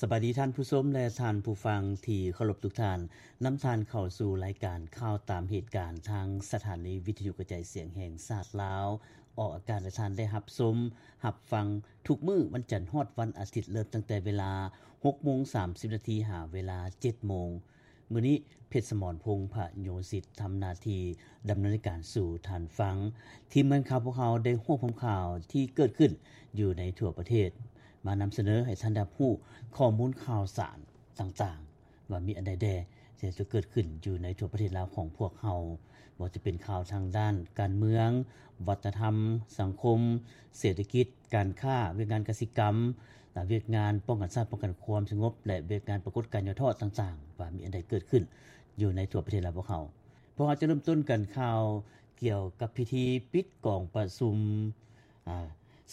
ສະບາຍດີທ່ານຜູ້ຊົມ ແລະ ທ່ານຜູ້ຟັງທີ່ເຄົາລົບທຸກທ່ານ. ນຳທ່ານເຂົ້າສູ່ລາຍການຂ່າວຕາມເຫດການ ທາງສະຖານີວິທະຍຸກະຈາຍສຽງແຫ່ງຊາດລາວ, ອອກອາກາດໃຫ້ທ່ານໄດ້ຮັບຊົມ, ຮັບຟັງທຸກມື້ວັນຈັນຮອດວັນອາທິດ, ເລີ່ມຕັ້ງແຕ່ເວລາຫົກໂມງສາມສິບນາທີ ຫາເວລາເຈັດໂມງ. ມື້ນີ້ ເພັດສະໝອນ ພົງພະໂຍສິດ ທຳໜ້າທີ່ດຳເນີນລາຍການສູ່ທ່ານຟັງ. ທີມງານຂ່າວພວກເຮົາໄດ້ຮວບຮວມຂ່າວທີ່ເກີດຂຶ້ນຢູ່ໃນທົ່ວປະເທດ ມານຳສະເໜີໃຫ້ທ່ານໄດ້ຮັບຮູ້ຂໍ້ມູນຂ່າວສານຕ່າງໆ ວ່າມີອັນໃດແດ່ທີ່ຈະເກີດຂຶ້ນຢູ່ໃນທົ່ວປະເທດລາວຂອງພວກເຮົາ, ບໍ່ວ່າຈະເປັນຂ່າວທາງດ້ານການເມືອງ, ວັດທະນະທຳ, ສັງຄົມ, ເສດຖະກິດ, ການຄ້າ, ວຽກງານກະສິກຳ, ແລະ ວຽກງານປ້ອງກັນຊາດ, ປ້ອງກັນຄວາມສະຫງົບ ແລະ ວຽກງານປາກົດການຫຍໍ້ທໍ້ຕ່າງໆ ວ່າມີອັນໃດເກີດຂຶ້ນຢູ່ໃນທົ່ວປະເທດລາວພວກເຮົາ. ພວກເຮົາຈະເລີ່ມຕົ້ນກັນຂ່າວກ່ຽວກັບພິທີປິດກອງປະຊຸມ ອາ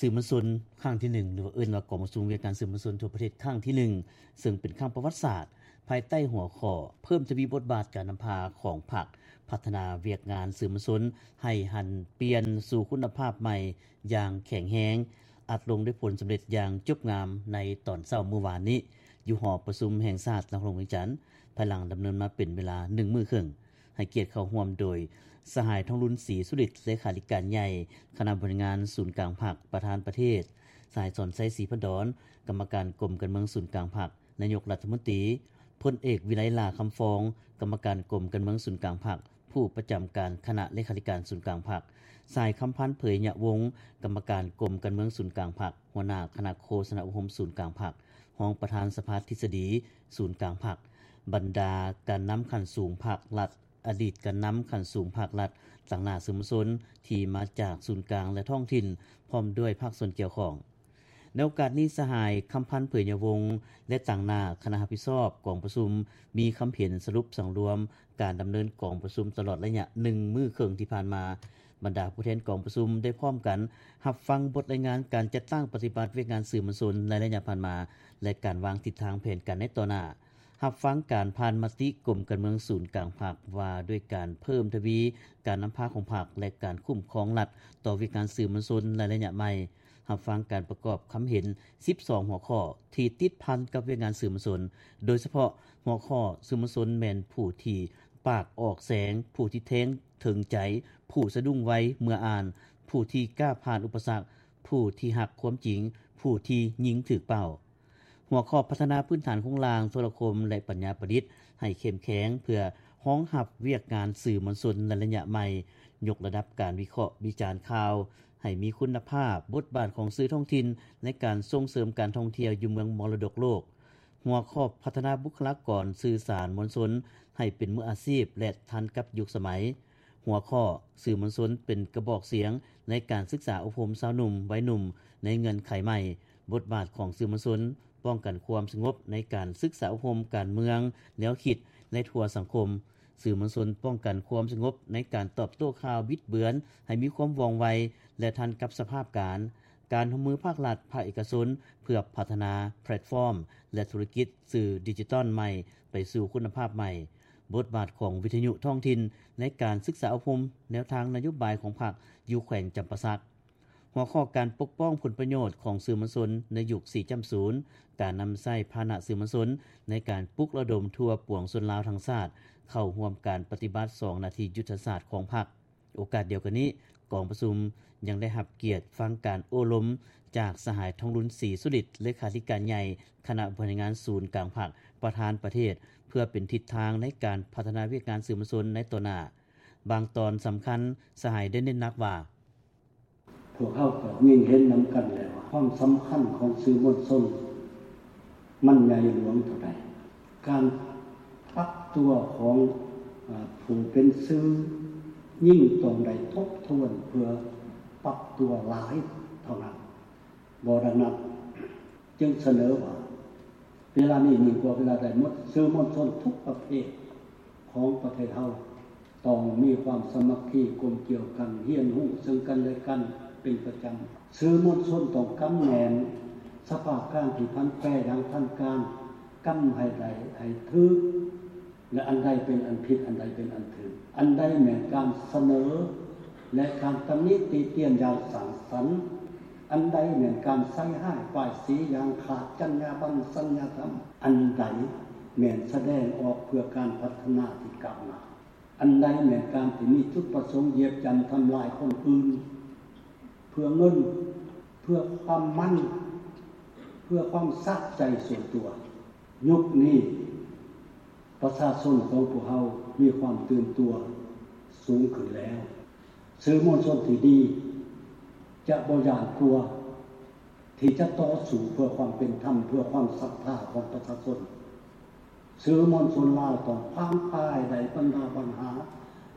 ສື່ມວນຊົນຄັ້ງທີໜຶ່ງ ຫຼືວ່າເອີ້ນວ່າກອງປະຊຸມວຽກງານສື່ມວນຊົນທົ່ວປະເທດຄັ້ງທີໜຶ່ງ ເຊິ່ງເປັນຄັ້ງປະຫວັດສາດ ພາຍໃຕ້ຫົວຂໍ້ ເພີ່ມທະວີບົດບາດການນຳພາຂອງພັກ ພັດທະນາວຽກງານສື່ມວນຊົນໃຫ້ຫັນປ່ຽນສູ່ຄຸນນະພາບໃໝ່ຢ່າງແຂງແຮງ, ອັດລົງດ້ວຍຜົນສຳເລັດຢ່າງຈົບງາມໃນຕອນເຊົ້າມື້ວານນີ້ ຢູ່ຫໍປະຊຸມແຫ່ງຊາດນະຄອນຫຼວງວຽງຈັນ, ພາຍຫຼັງດຳເນີນມາເປັນເວລາໜຶ່ງມື້ເຄິ່ງ. ໃຫ້ກຽດເຂົ້າຮ່ວມໂດຍ ສະຫາຍ ທອງລຸນ ສີສຸລິດ ເລຂາທິການໃຫຍ່ຄະນະບໍລິຫານງານສູນກາງພັກ ປະທານປະເທດ, ສະຫາຍ ສອນໄຊ ສີພັນດອນ ກຳມະການກົມການເມືອງສູນກາງພັກ ນາຍົກລັດຖະມົນຕີ, ພົນເອກ ວິໄລ ຫຼ້າຄຳຟອງ ກຳມະການກົມການເມືອງສູນກາງພັກ ຜູ້ປະຈຳການຄະນະເລຂາທິການສູນກາງພັກ, ສະຫາຍ ຄຳພັນ ເຜີຍຍະວົງ ກຳມະການກົມການເມືອງສູນກາງພັກ, ຫົວໜ້າຄະນະໂຄສະນາອົບຮົມສູນກາງພັກ, ຮອງປະທານສະພາທິດສະດີສູນກາງພັກ, ບັນດາການນຳຂັ້ນສູງພັກລັດ, ອະດີດການນຳຂັ້ນສູງພັກລັດ, ຕາງໜ້າສື່ມວນຊົນທີ່ມາຈາກສູນກາງ ແລະ ທ້ອງຖິ່ນ ພ້ອມດ້ວຍພາກສ່ວນກ່ຽວຂ້ອງ. ໃນໂອກາດນີ້ ສະຫາຍ ຄຳພັນ ເຜີຍຍະວົງ ແລະ ຕາງໜ້າຄະນະຮັບຜິດຊອບກອງປະຊຸມ ມີຄຳເຫັນສະຫຼຸບສັງລວມການດຳເນີນກອງປະຊຸມຕະຫຼອດໄລຍະໜຶ່ງມື້ເຄິ່ງທີ່ຜ່ານມາ. ບັນດາຜູ້ແທນກອງປະຊຸມໄດ້ພ້ອມກັນຮັບຟັງບົດລາຍງານການຈັດຕັ້ງປະຕິບັດວຽກງານສື່ມວນຊົນໃນໄລຍະຜ່ານມາ ແລະ ການວາງທິດທາງແຜນການໃນຕໍ່ໜ້າ, ຮັບຟັງການຜ່ານມະຕິກົມການເມືອງສູນກາງພັກວ່າດ້ວຍການເພີ່ມທະວີການນຳພາຂອງພັກ ແລະ ການຄຸ້ມຄອງລັດຕໍ່ວຽກງານສື່ມວນຊົນໃນໄລຍະໃໝ່, ຮັບຟັງການປະກອບຄຳເຫັນສິບສອງຫົວຂໍ້ທີ່ຕິດພັນກັບວຽກງານສື່ມວນຊົນ, ໂດຍສະເພາະຫົວຂໍ້ ສື່ມວນຊົນແມ່ນຜູ້ທີ່ປາກອອກແສງ, ຜູ້ທີ່ແທງເຖິງໃຈ, ຜູ້ສະດຸ້ງໄວເມື່ອອ່ານ, ຜູ້ທີ່ກ້າຜ່ານອຸປະສັກ, ຜູ້ທີ່ຮັກຄວາມຈິງ, ຜູ້ທີ່ຍິງຖືກເປົ້າ. ຫົວຂໍ້ ພັດທະນາພື້ນຖານໂຄງລ່າງໂທລະຄົມ ແລະ ປັນຍາປະດິດໃຫ້ເຂັ້ມແຂງ ເພື່ອຮອງຮັບວຽກງານສື່ມວນຊົນໃນໄລຍະໃໝ່, ຍົກລະດັບການວິເຄາະວິຈານຂ່າວໃຫ້ມີຄຸນນະພາບ, ບົດບາດຂອງສື່ທ້ອງຖິ່ນໃນການສົ່ງເສີມການທ່ອງທ່ຽວຢູ່ເມືອງມໍລະດົກໂລກ. ຫົວຂໍ້ ພັດທະນາບຸກຄະລາກອນສື່ສານມວນຊົນໃຫ້ເປັນມືອາຊີບ ແລະ ທັນກັບຍຸກສະໄໝ. ຫົວຂໍ້ ສື່ມວນຊົນເປັນກະບອກສຽງໃນການສຶກສາອົບຮົມຊາວໜຸ່ມ, ໄວໜຸ່ມໃນເງື່ອນໄຂໃໝ່, ບົດບາດຂອງສື່ມວນຊົນປ້ອງກັນຄວາມສະຫງົບໃນການສຶກສາອົບຮົມການເມືອງ, ແນວຄິດ ແລະ ທົ່ວສັງຄົມ. ສື່ມວນຊົນປ້ອງກັນຄວາມສະຫງົບໃນການຕອບໂຕ້ຂ່າວບິດເບືອນໃຫ້ມີຄວາມວ່ອງໄວ ແລະ ທັນກັບສະພາບການ. ການຮ່ວມມືພາກລັດ, ພາກເອກະຊົນ ເພື່ອພັດທະນາແພລດຟອມ ແລະ ທຸລະກິດສື່ດິຈິຕອນໃໝ່ໄປສູ່ຄຸນນະພາບໃໝ່. ບົດບາດຂອງວິທະຍຸທ້ອງຖິ່ນໃນການສຶກສາອົບຮົມແນວທາງນະໂຍບາຍຂອງພັກຢູ່ແຂວງຈຳປາສັກ. ຫົວຂໍ້ການປົກປ້ອງຜົນປະໂຫຍດຂອງສື່ມວນຊົນໃນຍຸກສີ່ຈ້ຳສູນ, ການນຳໃຊ້ພາຫະນະສື່ມວນຊົນໃນການປຸກລະດົມທົ່ວປວງຊົນລາວທັງຊາດເຂົ້າຮ່ວມການປະຕິບັດສອງໜ້າທີ່ຍຸດທະສາດຂອງພັກ. ໂອກາດດຽວກັນນີ້, ກອງປະຊຸມຍັງໄດ້ຮັບກຽດຟັງການໂອ້ລົມຈາກສະຫາຍ ທອງລຸນ ສີສຸລິດ ເລຂາທິການໃຫຍ່ຄະນະບໍລິຫານງານສູນກາງພັກ ປະທານປະເທດ ເພື່ອເປັນທິດທາງໃນການພັດທະນາວຽກງານສື່ມວນຊົນໃນຕໍ່ໜ້າ. ບາງຕອນສຳຄັນ, ສະຫາຍໄດ້ເນັ້ນໜັກວ່າ, ພວກເຮົາກໍຍິ່ງເຫັນນຳກັນແລ້ວວ່າ ຄວາມສຳຄັນຂອງສື່ມວນຊົນມັນໃຫຍ່ຫຼວງເທົ່າໃດ. ການປັບຕົວຂອງ ອາ ຜູ້ເປັນສື່ຍິ່ງຕ້ອງໄດ້ທົບທວນເພື່ອປັບຕົວຫຼາຍເທົ່ານັ້ນ. ບໍ່ດັ່ງນັ້ນ ຈຶ່ງສະເໜີວ່າ ເວລານີ້ຍິ່ງກວ່າເວລາໃດໝົດ, ສື່ມວນຊົນທຸກປະເພດຂອງປະເທດເຮົາ ຕ້ອງມີຄວາມສາມັກຄີກົມກ່ຽວກັນ, ຮຽນຮູ້ເຊິ່ງກັນແລະກັນເປັນປະຈຳ. ສື່ມວນຊົນຕ້ອງກຳແໜ້ນສະພາບການທີ່ຜັນແປຢ່າງທັນການ, ກຳໃຫ້ໄດ້ໃຫ້ຖືກ ແລະ ອັນໃດເປັນອັນຜິດ, ອັນໃດເປັນອັນຖືກ, ອັນໃດແມ່ນການສະເໜີ ແລະ ການຕຳໜິຕິຕຽນຢ່າງສ້າງສັນ, ອັນໃດແມ່ນການໃສ່ຮ້າຍປ້າຍສີຢ່າງຂາດຈັນຍາບັນສັນຍາທຳ? ອັນໃດແມ່ນສະແດງອອກເພື່ອການພັດທະນາທີ່ກ້າວໜ້າ? ອັນໃດແມ່ນການທີ່ມີຈຸດປະສົງຢຽບຢ່ຳທຳລາຍຄົນອື່ນ ເພື່ອເງິນ, ເພື່ອຄວາມມັນ, ເພື່ອຄວາມສະໃຈສ່ວນຕົວ? ຍຸກນີ້ ປະຊາຊົນຂອງພວກເຮົາມີຄວາມຕື່ນຕົວສູງຂຶ້ນແລ້ວ. ສື່ມວນຊົນທີ່ດີຈະບໍ່ຢ້ານກົວທີ່ຈະຕໍ່ສູ້ເພື່ອຄວາມເປັນທຳ, ເພື່ອຄວາມສັດທາຂອງປະຊາຊົນ. ສື່ມວນຊົນລາວຕ້ອງຄວ້າງປາໃຫ້ໄດ້ບັນດາບັນຫາ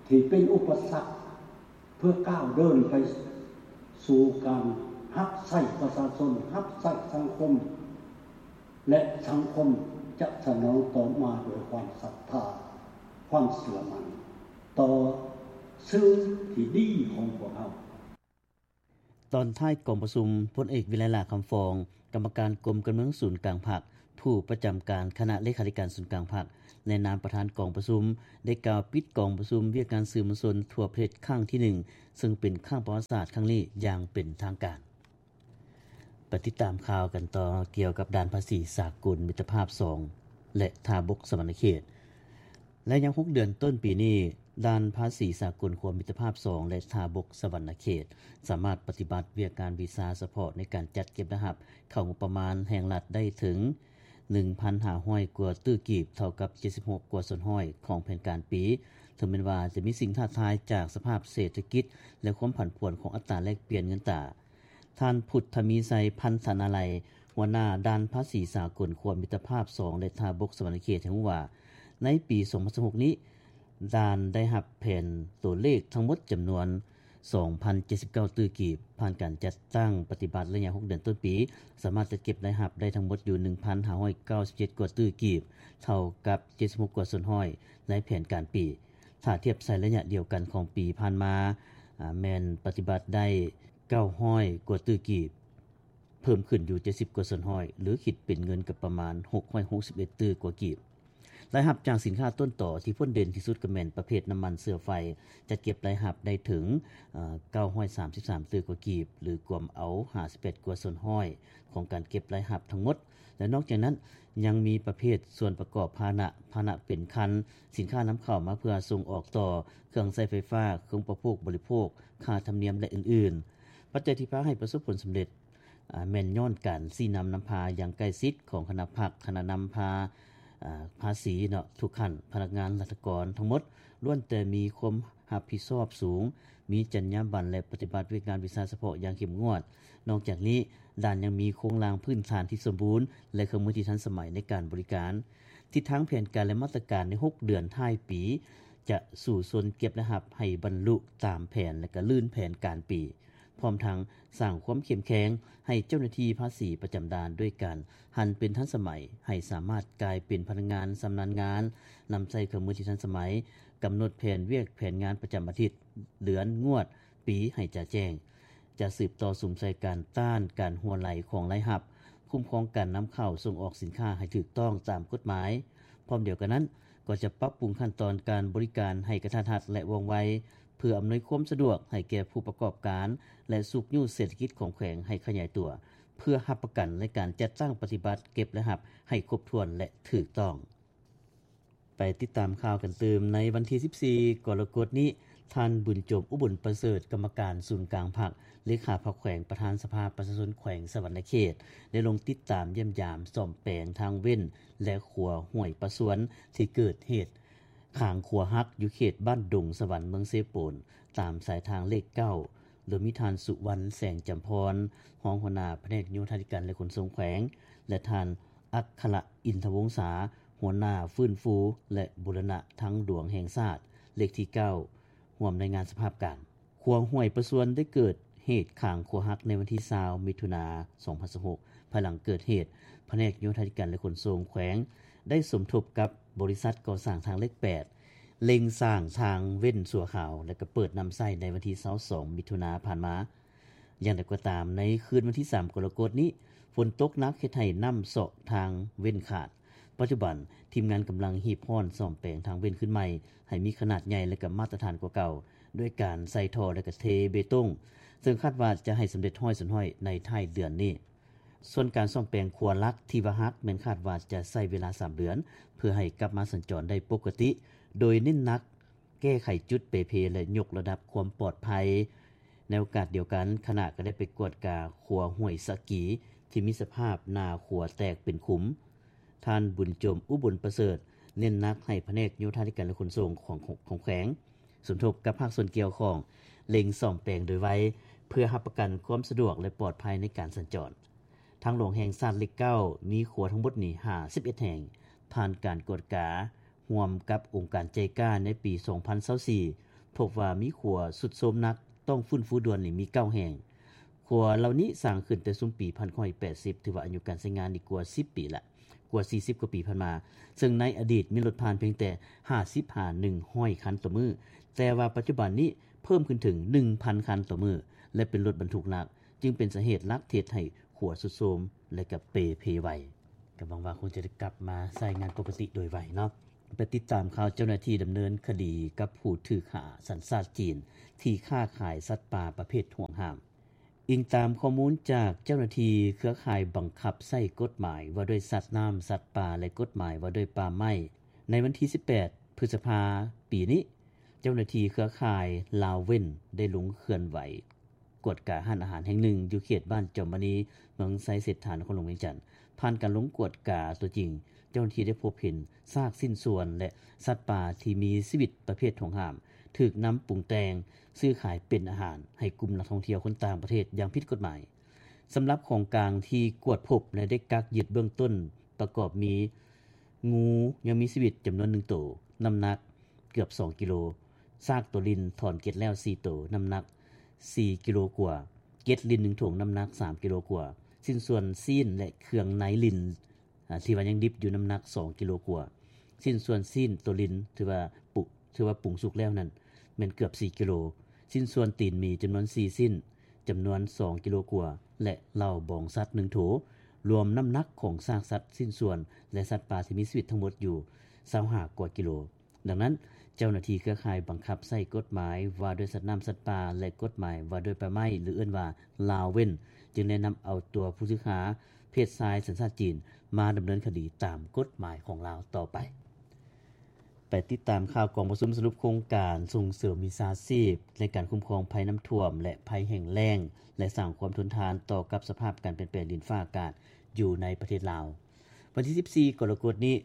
ທີ່ເປັນອຸປະສັກ ເພື່ອກ້າວເດີນໄປສູ່ການຮັບໃຊ້ປະຊາຊົນ, ຮັບໃຊ້ສັງຄົມ ແລະ ສັງຄົມຈະສະໜອງຕອບມາດ້ວຍຄວາມສັດທາ, ຄວາມເຊື່ອໝັ້ນຕໍ່ສື່ທີ່ດີຂອງພວກເຮົາ. ຕອນທ້າຍກອງປະຊຸມ, ພົນເອກ ວິໄລ ຫຼ້າຄຳຟອງ, ກຳມະການກົມການເມືອງສູນກາງພັກ, ຜູ້ປະຈຳການຄະນະເລຂາທິການສູນກາງພັກ ໃນນາມປະທານກອງປະຊຸມ ໄດ້ກ່າວປິດກອງປະຊຸມວຽກງານສື່ມວນຊົນທົ່ວປະເທດຄັ້ງທີໜຶ່ງ ເຊິ່ງເປັນຄັ້ງປະຫວັດສາດຄັ້ງນີ້ຢ່າງເປັນທາງການ. ໄປຕິດຕາມຂ່າວກັນຕໍ່ກ່ຽວກັບດ່ານພາສີສາກົນມິດຕະພາບສອງ ແລະ ທ່າບົກສະຫວັນນະເຂດ. ໄລຍະຫົກເດືອນຕົ້ນປີນີ້, ດ່ານພາສີສາກົນຂົວມິດຕະພາບສອງ ແລະ ທ່າບົກສະຫວັນນະເຂດ ສາມາດປະຕິບັດວຽກງານວີຊາສະເພາະໃນການຈັດເກັບລາຍຮັບເຂົ້າງົບປະມານແຫ່ງລັດໄດ້ເຖິງ ໜຶ່ງພັນຫ້າຮ້ອຍກວ່າຕື້ກີບ, ເທົ່າກັບເຈັດສິບຫົກກວ່າສ່ວນຮ້ອຍຂອງແຜນການປີ. ເຖິງແມ່ນວ່າຈະມີສິ່ງທ້າທາຍຈາກສະພາບເສດຖະກິດ ແລະ ຄວາມຜັນຜວນຂອງອັດຕາແລກປ່ຽນເງິນຕາ, ທ່ານ ພຸດທະມີໄຊ ພັນທະນາໄລ, ຫົວໜ້າດ່ານພາສີສາກົນຂົວມິດຕະພາບສອງ ແລະ ທ່າບົກສະຫວັນນະເຂດ ໃຫ້ຮູ້ວ່າ ໃນປີສອງພັນຊາວຫົກນີ້, ດ່ານໄດ້ຮັບແຜນຕົວເລກທັງໝົດຈຳນວນສອງພັນເຈັດສິບເກົ້າຕື້ກີບ, ຜ່ານການຈັດຕັ້ງປະຕິບັດໄລຍະຫົກເດືອນຕົ້ນປີ, ສາມາດຈັດເກັບລາຍຮັບໄດ້ທັງໝົດຢູ່ໜຶ່ງພັນຫ້າຮ້ອຍເກົ້າສິບເຈັດກວ່າຕື້ກີບ, ເທົ່າກັບເຈັດສິບຫົກກວ່າສ່ວນຮ້ອຍໃນແຜນການປີ. ຖ້າທຽບໃສ່ໄລຍະດຽວກັນຂອງປີຜ່ານມາ, ອາ, ແມ່ນປະຕິບັດໄດ້ເກົ້າຮ້ອຍກວ່າຕື້ກີບ, ເພີ່ມຂຶ້ນຢູ່ເຈັດສິບກວ່າສ່ວນຮ້ອຍ ຫຼື ຄິດເປັນເງິນກໍປະມານຫົກຮ້ອຍຫົກສິບເອັດຕື້ກວ່າກີບ. ລາຍຮັບຈາກສິນຄ້າຕົ້ນຕໍທີ່ພົ້ນເດັ່ນທີ່ສຸດກໍແມ່ນປະເພດນ້ຳມັນເຊື້ອໄຟ, ຈັດເກັບລາຍຮັບໄດ້ເຖິງ ເອີ່ ເກົ້າຮ້ອຍສາມສິບສາມຕື້ກວ່າກີບ ຫຼື ກວມເອົາຫ້າສິບແປດກວ່າສ່ວນຮ້ອຍຂອງການເກັບລາຍຮັບທັງໝົດ ແລະ ນອກຈາກນັ້ນຍັງມີປະເພດສ່ວນປະກອບພາຫະນະ, ພາຫະນະເປັນຄັນ, ສິນຄ້ານຳເຂົ້າມາເພື່ອສົ່ງອອກຕໍ່, ເຄື່ອງໃຊ້ໄຟຟ້າ, ເຄື່ອງອຸປະໂພກບໍລິໂພກ, ຄ່າທຳນຽມ ແລະ ອື່ນໆ. ປັດໄຈທີ່ພາໃຫ້ປະສົບຜົນສຳເລັດ ອາ ແມ່ນຍ້ອນການຊີ້ນຳນຳພາຢ່າງໃກ້ຊິດຂອງຄະນະພັກ, ຄະນະນຳພາ ອາ ພາສີເນາະ ທຸກຂັ້ນ, ພະນັກງານລັດຖະກອນທັງໝົດລ້ວນແຕ່ມີຄວາມຮັບຜິດຊອບສູງ, ມີຈັນຍາບັນ ແລະ ປະຕິບັດວຽກງານວິຊາສະເພາະຢ່າງເຂັ້ມງວດ. ນອກຈາກນີ້, ດ່ານຍັງມີໂຄງລ່າງພື້ນຖານທີ່ສົມບູນ ແລະ ເຄື່ອງມືທີ່ທັນສະໄໝໃນການບໍລິການ. ທິດທາງແຜນການ ແລະ ມາດຕະການໃນຫົກເດືອນທ້າຍປີ ຈະສູ້ຊົນເກັບລາຍຮັບໃຫ້ບັນລຸຕາມແຜນ ແລະ ກະລື່ນແຜນການປີ. ພ້ອມທັງສ້າງຄວາມເຂັ້ມແຂງໃຫ້ເຈົ້າໜ້າທີ່ພາສີປະຈຳດ່ານ ດ້ວຍການຫັນເປັນທັນສະໄໝ, ໃຫ້ສາມາດກາຍເປັນພະນັກງານຊຳນານງານ, ນຳໃຊ້ເຄື່ອງມືທີ່ທັນສະໄໝ, ກຳນົດແຜນວຽກແຜນງານປະຈຳອາທິດ, ເດືອນ, ງວດ, ປີ ໃຫ້ຈະແຈ້ງ. ຈະສືບຕໍ່ສຸມໃສ່ການຕ້ານການຮົ່ວໄຫຼຂອງລາຍຮັບ, ຄຸ້ມຄອງການນຳເຂົ້າສົ່ງອອກສິນຄ້າໃຫ້ຖືກຕ້ອງຕາມກົດໝາຍ. ພ້ອມດຽວກັນນັ້ນ, ກໍຈະປັບປຸງຂັ້ນຕອນການບໍລິການໃຫ້ກະທັດຮັດ ແລະ ວ່ອງໄວ, ເພື່ອອຳນວຍຄວາມສະດວກໃຫ້ແກ່ຜູ້ປະກອບການ ແລະ ຊຸກຍູ້ເສດຖະກິດຂອງແຂວງໃຫ້ຂະຫຍາຍຕົວ, ເພື່ອຮັບປະກັນໃນການຈັດຕັ້ງປະຕິບັດເກັບລາຍຮັບໃຫ້ຄົບຖ້ວນ ແລະ ຖືກຕ້ອງ. ໄປຕິດຕາມຂ່າວກັນຕື່ມ. ໃນວັນທີສິບສີ່ ກໍລະກົດນີ້, ທ່ານ ບຸນຈົບ ອຸບົນປະເສີດ, ກຳມະການສູນກາງພັກ, ເລຂາພັກແຂວງ, ປະທານສະພາປະຊາຊົນແຂວງສະຫວັນນະເຂດ ໄດ້ລົງຕິດຕາມຢ້ຽມຢາມສ້ອມແປງທາງເວັ້ນ ແລະ ຂົວຫ້ວຍປາຊວນ ທີ່ເກີດເຫດ ຄາງຂົວຫັກ ຢູ່ເຂດບ້ານດົງສະຫວັນ ເມືອງເຊໂປນ ຕາມສາຍທາງເລກເກົ້າ ໂດຍມີທ່ານ ສຸວັນ ແສງຈຳພອນ ຮອງຫົວໜ້າພະແນກໂຍທາທິການ ແລະ ຂົນສົ່ງແຂວງ ແລະ ທ່ານ ອັກຄະລະ ອິນທະວົງສາ ຫົວໜ້າຟື້ນຟູ ແລະ ບູລະນະທາງຫຼວງແຫ່ງຊາດ ເລກທີເກົ້າ ຮ່ວມລາຍງານສະພາບການ. ຂົວຫ້ວຍປາຊວນໄດ້ເກີດເຫດຄາງຂົວຫັກໃນວັນທີຊາວ ມິຖຸນາ ສອງພັນຊາວຫົກ ພາຍຫຼັງເກີດເຫດ, ພະແນກໂຍທາທິການ ແລະ ຂົນສົ່ງແຂວງ ໄດ້ສົມທົບກັບບໍລິສັດກໍ່ສ້າງທາງເລກແປດ ເລັ່ງສ້າງທາງເວັ້ນຊົ່ວຄາວ ແລະ ກໍເປີດນຳໃຊ້ໃນວັນທີຊາວສອງ ມິຖຸນາຜ່ານມາ. ຢ່າງໃດກໍຕາມ, ໃນຄືນວັນທີສາມ ກໍລະກົດນີ້, ຝົນຕົກໜັກເຮັດໃຫ້ນ້ຳເຊາະທາງເວັ້ນຂາດ. ປັດຈຸບັນ, ທີມງານກຳລັງຮີບຮ້ອນສ້ອມແປງທາງເວັ້ນຄືນໃໝ່ ໃຫ້ມີຂະໜາດໃຫຍ່ ແລະ ກໍມາດຕະຖານກວ່າເກົ່າ ດ້ວຍການໃສ່ທໍ່ ແລະ ກະເທເບຕົງ. ເຊິ່ງຄາດວ່າຈະໃຫ້ສຳເລັດຮ້ອຍສ່ວນຮ້ອຍໃນທ້າຍເດືອນນີ້. ສ່ວນການສ້ອມແປງຂົວຫຼັກທີ່ວ່າຫັກ ແມ່ນຄາດວ່າຈະໃຊ້ເວລາສາມເດືອນ ເພື່ອໃຫ້ກັບມາສັນຈອນໄດ້ປົກກະຕິ, ໂດຍເນັ້ນໜັກແກ້ໄຂຈຸດເປ່ເພ ແລະ ຍົກລະດັບຄວາມປອດໄພ. ໃນໂອກາດດຽວກັນ, ຄະນະກໍໄດ້ໄປກວດກາຂົວຫ້ວຍສະກີ ທີ່ມີສະພາບໜ້າຂົວແຕກເປັນຂຸມ. ທ່ານ ບຸນຈົມ ອຸບົນປະເສີດ ເນັ້ນໜັກໃຫ້ພະແນກໂຍທາທິການ ແລະ ຂົນສົ່ງຂອງ ຂອງແຂວງ ສົມທົບກັບພາກສ່ວນກ່ຽວຂ້ອງ ເລັ່ງສ້ອມແປງໂດຍໄວ ເພື່ອຮັບປະກັນຄວາມສະດວກ ແລະ ປອດໄພໃນການສັນຈອນ. ທາງຫຼວງແຫ່ງຊາດເລກເກົ້າ ມີຂົວທັງໝົດນີ້ຫ້າສິບເອັດແຫ່ງ. ຜ່ານການກວດກາຮ່ວມກັບອົງການໄຈກາໃນປີສອງພັນຊາວສີ່ ພົບວ່າມີຂົວຊຸດໂຊມໜັກ ຕ້ອງຟື້ນຟູດ່ວນນີ້ມີເກົ້າແຫ່ງ. ຂົວເຫຼົ່ານີ້ສ້າງຂຶ້ນແຕ່ຊຸມປີພັນເກົ້າຮ້ອຍແປດສິບ ຖືວ່າອາຍຸການໃຊ້ງານນີ້ກວ່າສິບປີລະ. ກວ່າສີ່ສິບກວ່າປີຜ່ານມາ, ເຊິ່ງໃນອະດີດມີລົດຜ່ານພຽງແຕ່ຫ້າສິບຫາໜຶ່ງຮ້ອຍຄັນຕໍ່ມື້, ແຕ່ວ່າປັດຈຸບັນນີ້ເພີ່ມຂຶ້ນເຖິງໜຶ່ງພັນຄັນຕໍ່ມື້ ແລະ ເປັນລົດບັນທຸກໜັກ, ຈຶ່ງເປັນສາເຫດຫຼັກທີ່ເຮັດໃຫ້ຂົວຊຸດໂຊມ ແລະ ກະເປ່ເພໄວ. ກໍຫວັງວ່າຄົງຈະໄດ້ກັບມາໃຊ້ງານປົກກະຕິໂດຍໄວເນາະ. ໄປຕິດຕາມຂ່າວເຈົ້າໜ້າທີ່ດຳເນີນຄະດີກັບຜູ້ຖືກຫາສັນຊາດຈີນ ທີ່ຄ້າຂາຍສັດປ່າປະເພດຫວງຫ້າມ. ອີງຕາມຂໍ້ມູນຈາກເຈົ້າໜ້າທີ່ເຄືອຂ່າຍບັງຄັບໃຊ້ກົດໝາຍວ່າດ້ວຍສັດນ້ຳ, ສັດປ່າ ແລະ ກົດໝາຍວ່າດ້ວຍປ່າໄມ້, ໃນວັນທີສິບແປດ ພຶດສະພາ ປີນີ້, ເຈົ້າໜ້າທີ່ເຄືອຂ່າຍລາວເວັ້ນ ໄດ້ລົງເຄື່ອນໄຫວກວດກາຮ້ານອາຫານແຫ່ງໜຶ່ງ ຢູ່ເຂດບ້ານຈອມມະນີ ເມືອງໄຊເສດຖາ ນະຄອນຫຼວງວຽງຈັນ. ຜ່ານການລົງກວດກາຕົວຈິງ, ເຈົ້າໜ້າທີ່ໄດ້ພົບເຫັນຊາກຊິ້ນສ່ວນ ແລະ ສັດປ່າທີ່ມີຊີວິດປະເພດຫວງຫ້າມ ຖືກນຳປຸງແຕ່ງຊື້ຂາຍເປັນອາຫານໃຫ້ກຸ່ມນັກທ່ອງທ່ຽວຄົນຕ່າງປະເທດຢ່າງຜິດກົດໝາຍ. ສຳລັບຂອງກາງທີ່ກວດພົບ ແລະ ໄດ້ກັກຍຶດເບື້ອງຕົ້ນ ປະກອບມີ ງູຍັງມີຊີວິດຈຳນວນໜຶ່ງໂຕ, ນ້ຳໜັກເກືອບສອງກິໂລ, ຊາກໂຕລິນຖອນເກັດແລ້ວສີ່ໂຕ, ນ້ຳໜັກສີ່ກິໂລກວ່າ, ເກັດລິນໜຶ່ງຖົງ, ນ້ຳໜັກສາມກິໂລກວ່າ, ຊິ້ນສ່ວນຊີ້ນ ແລະ ເຄື່ອງໃນລິນ ອາ ທີ່ວ່າຍັງດິບຢູ່ ນ້ຳໜັກສອງກິໂລກວ່າ, ຊິ້ນສ່ວນຊີ້ນໂຕລິນ ຖືວ່າປຸ ຖືວ່າປຸງສຸກແລ້ວນັ້ນ ແມ່ນເກືອບສີ່ກິໂລ, ຊິ້ນສ່ວນຕີນໝີຈຳນວນສີ່ຊິ້ນ ຈຳນວນສອງກິໂລກວ່າ ແລະ ເຫຼົ້າບອງສັດໜຶ່ງໂຖ, ລວມນ້ຳໜັກຂອງຊາກສັດ, ຊິ້ນສ່ວນ ແລະ ສັດປ່າທີ່ມີຊີວິດທັງໝົດຢູ່ຊາວຫ້າກວ່າກິໂລ. ດັ່ງນັ້ນ, ເຈົ້າໜ້າທີ່ເຄືອຂ່າຍບັງຄັບໃຊ້ກົດໝາຍວ່າດ້ວຍສັດນ້ຳ, ສັດປ່າ ແລະ ກົດໝາຍວ່າດ້ວຍປ່າໄມ້ ຫຼື ເອີ້ນວ່າລາວເວັ້ນ ຈຶ່ງໄດ້ນຳເອົາຕົວຜູ້ຖືກຫາ ເພດຊາຍສັນຊາດຈີນ ມາດຳເນີນຄະດີຕາມກົດໝາຍຂອງລາວຕໍ່ໄປ. ໄປຕິດຕາມຂ່າວກອງປະຊຸມສະຫຼຸບໂຄງການສົ່ງເສີມວິຊາຊີບໃນການຄຸ້ມຄອງໄພນ້ຳຖ້ວມ ແລະ ໄພແຫ້ງແລ້ງ ແລະ ສ້າງຄວາມທົນທານຕໍ່ກັບສະພາບການປ່ຽນແປງດິນຟ້າອາກາດຢູ່ໃນປະເທດລາວ. ວັນທີສິບສີ່ ກໍລະກົດນີ້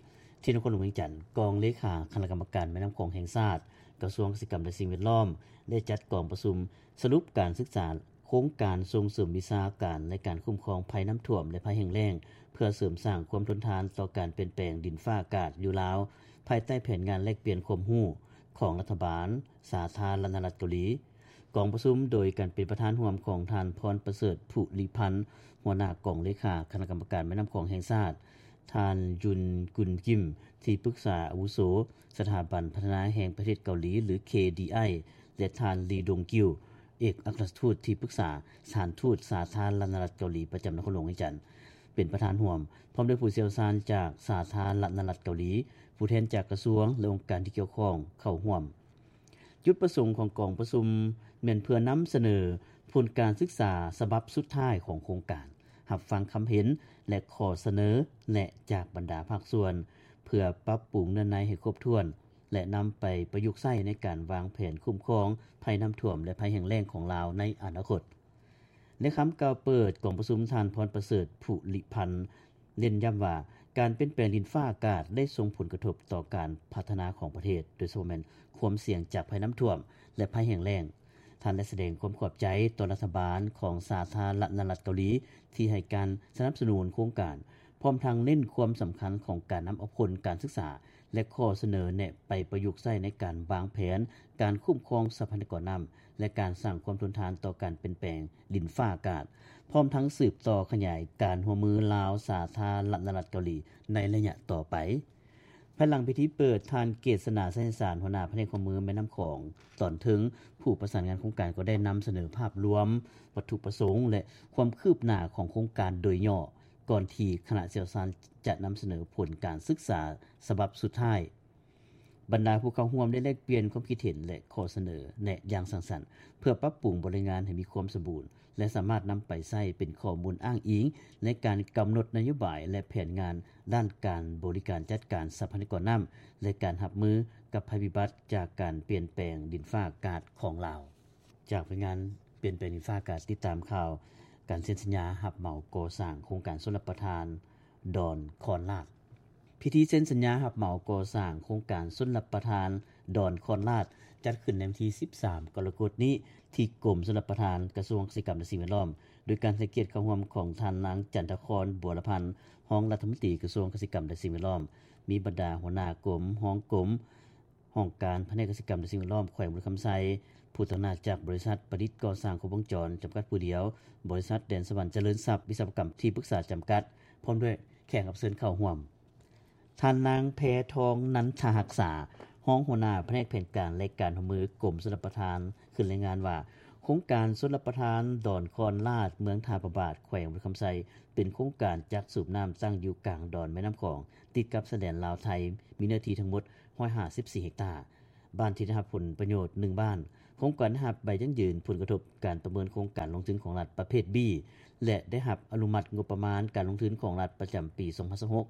ທີ່ນະຄອນຫຼວງວຽງຈັນ, ກອງເລຂາຄະນະກຳມະການແມ່ນ້ຳຂອງແຫ່ງຊາດ, ກະຊວງກະສິກຳ ແລະ ສິ່ງແວດລ້ອມ ໄດ້ຈັດກອງປະຊຸມສະຫຼຸບການສຶກສາໂຄງການສົ່ງເສີມວິຊາການໃນການຄຸ້ມຄອງໄພນ້ຳຖ້ວມ ແລະ ໄພແຫ້ງແລ້ງ ເພື່ອເສີມສ້າງຄວາມທົນທານຕໍ່ການປ່ຽນແປງດິນຟ້າອາກາດຢູ່ລາວ, ພາຍໃຕ້ແຜນງານແລກປ່ຽນຄວາມຮູ້ຂອງລັດຖະບານສາທາລະນະລັດເກົາຫຼີ. ກອງປະຊຸມໂດຍການເປັນປະທານຮ່ວມຂອງທ່ານ ພອນປະເສີດ ຜູລິພັນ ຫົວໜ້າກອງເລຂາຄະນະກຳມະການແມ່ນ້ຳຂອງແຫ່ງຊາດ, ທ່ານ ຍຸນ ກຸນກິມ ທີ່ປຶກສາອາວຸໂສສະຖາບັນພັດທະນາແຫ່ງປະເທດເກົາຫຼີ ຫຼື ເຄດີໄອ ແລະ ທ່ານ ລີ ດົງກິວ ເອກອັກຄະລັດທູດທີ່ປຶກສາສະຖານທູດສາທາລະນະລັດເກົາຫຼີປະຈຳນະຄອນຫຼວງວຽງຈັນ ເປັນປະທານຮ່ວມ, ພ້ອມດ້ວຍຜູ້ຊ່ຽວຊານຈາກສາທາລະນະລັດເກົາຫຼີ, ຜູ້ແທນຈາກກະຊວງ ແລະ ອົງການທີ່ກ່ຽວຂ້ອງເຂົ້າຮ່ວມ. ຈຸດປະສົງຂອງກອງປະຊຸມແມ່ນເພື່ອນຳສະເໜີຜົນການສຶກສາສະບັບສຸດທ້າຍຂອງໂຄງການ, ຮັບຟັງຄຳເຫັນ ແລະ ຂໍ້ສະເໜີແນະຈາກບັນດາພາກສ່ວນ ເພື່ອປັບປຸງເນື້ອໃນໃຫ້ຄົບຖ້ວນ ແລະ ນຳໄປປະຍຸກໃຊ້ໃນການວາງແຜນຄຸ້ມຄອງໄພນ້ຳຖ້ວມ ແລະ ໄພແຫ້ງແລ້ງຂອງລາວໃນອະນາຄົດ. ໃນຄຳກ່າວເປີດກອງປະຊຸມ, ທ່ານ ພອນປະເສີດ ຜູລິພັນ ເນັ້ນຢ້ຳວ່າ ການປ່ຽນແປງດິນຟ້າອາກາດໄດ້ສົ່ງຜົນກະທົບຕໍ່ການພັດທະນາຂອງປະເທດ, ໂດຍສະເພາະແມ່ນຄວາມສ່ຽງຈາກໄພນ້ຳຖ້ວມ ແລະ ໄພແຫ້ງແລ້ງ. ທ່ານໄດ້ສະແດງຄວາມຂອບໃຈຕໍ່ລັດຖະບານຂອງສາທາລະນະລັດເກົາຫຼີ ທີ່ໃຫ້ການສະໜັບສະໜູນໂຄງການ, ພ້ອມທັງເນັ້ນຄວາມສຳຄັນຂອງການນຳເອົາຜົນການສຶກສາ ແລະ ຂໍ້ສະເໜີແນະໄປປະຍຸກໃຊ້ໃນການວາງແຜນການຄຸ້ມຄອງຊັບພະຍາກອນນ້ຳ ແລະ ການສ້າງຄວາມທົນທານຕໍ່ການປ່ຽນແປງດິນຟ້າອາກາດ, ພ້ອມທັງສືບຕໍ່ຂະຫຍາຍການຮ່ວມມືລາວ-ສາທາລະນະລັດເກົາຫຼີໃນໄລຍະຕໍ່ໄປ. ພາຍຫຼັງພິທີເປີດ, ທ່ານ ເກດສະໜາ ໄຊຍະສານ ຫົວໜ້າພະແນກຮ່ວມມືແມ່ນ້ຳຂອງຕອນເທິງ, ຜູ້ປະສານງານໂຄງການ ກໍໄດ້ນຳສະເໜີພາບລວມ, ວັດຖຸປະສົງ ແລະ ຄວາມຄືບໜ້າຂອງໂຄງການໂດຍຫຍໍ້, ກ່ອນທີ່ຄະນະຊ່ຽວຊານຈະນຳສະເໜີຜົນການສຶກສາສະບັບສຸດທ້າຍ. ບັນດາຜູ້ເຂົ້າຮ່ວມໄດ້ແລກປ່ຽນຄວາມຄິດເຫັນ ແລະ ຂໍ້ສະເໜີແນະຢ່າງສ້າງສັນ ເພື່ອປັບປຸງບົດລາຍງານໃຫ້ມີຄວາມສົມບູນ ແລະ ສາມາດນຳໄປໃຊ້ເປັນຂໍ້ມູນອ້າງອີງໃນການກຳນົດນະໂຍບາຍ ແລະ ແຜນງານດ້ານການບໍລິການຈັດການຊັບພະຍາກອນນ້ຳ ແລະ ການຮັບມືກັບໄພພິບັດຈາກການປ່ຽນແປງດິນຟ້າອາກາດຂອງລາວ. ຈາກລາຍງານປ່ຽນແປງດິນຟ້າອາກາດ ຕິດຕາມຂ່າວການເຊັນສັນຍາຮັບເໝົາກໍ່ສ້າງໂຄງການຊົນລະປະທານດອນຄອນລາດ. ພິທີເຊັນສັນຍາຮັບເໝົາກໍ່ສ້າງໂຄງການຊົນລະປະທານດອນຄອນລາດ ຈັດຂຶ້ນໃນວັນທີສິບສາມ ກໍລະກົດນີ້ ທີ່ກົມຊົນລະປະທານ ກະຊວງກະສິກຳ ແລະ ສິ່ງແວດລ້ອມ ໂດຍການໃຫ້ກຽດເຂົ້າຮ່ວມຂອງທ່ານນາງ ຈັນທະຄອນ ບົວລະພັນ ຮອງລັດຖະມົນຕີກະຊວງກະສິກຳ ແລະ ສິ່ງແວດລ້ອມ, ມີບັນດາຫົວໜ້າກົມ, ຮອງກົມ, ຫ້ອງການພະແນກກະສິກຳ ແລະ ສິ່ງແວດລ້ອມ ແຂວງບໍລິຄຳໄຊ, ຜູ້ຕາງໜ້າຈາກບໍລິສັດປະດິດກໍ່ສ້າງຄົບວົງຈອນ ຈຳກັດຜູ້ດຽວ, ບໍລິສັດແດນສະຫວັນຈະເລີນຊັບວິສະວະກຳ ທີ່ປຶກສາຈຳກັດ ພ້ອມດ້ວຍແຂກຮັບເຊີນເຂົ້າຮ່ວມ. ທ່ານນາງ ແພທອງ ນັນທະຮັກສາ ຮອງຫົວໜ້າພະແນກແຜນການ ແລະ ການຮ່ວມມືກົມຊົນລະປະທານ ຂຶ້ນລາຍງານວ່າ ໂຄງການຊົນລະປະທານດອນຄອນລາດ ເມືອງທ່າພະບາດ ແຂວງບໍລິຄຳໄຊ ເປັນໂຄງການຈັກສູບນ້ຳ ຕັ້ງຢູ່ກາງດອນແມ່ນ້ຳຂອງ ຕິດກັບຊາຍແດນລາວ-ໄທ, ມີເນື້ອທີ່ທັງໝົດ ຮ້ອຍຫ້າສິບສີ່ເຮັກຕາ. ບ້ານທີ່ໄດ້ຮັບຜົນປະໂຫຍດ ໜຶ່ງບ້ານ. ໂຄງການໄດ້ຮັບໃບຢັ້ງຢືນຜົນກະທົບການປະເມີນໂຄງການລົງທຶນຂອງລັດປະເພດ B ແລະ ໄດ້ຮັບອະນຸມັດງົບປະມານການລົງທຶນຂອງລັດປະຈຳປີສອງພັນຊາວຫົກ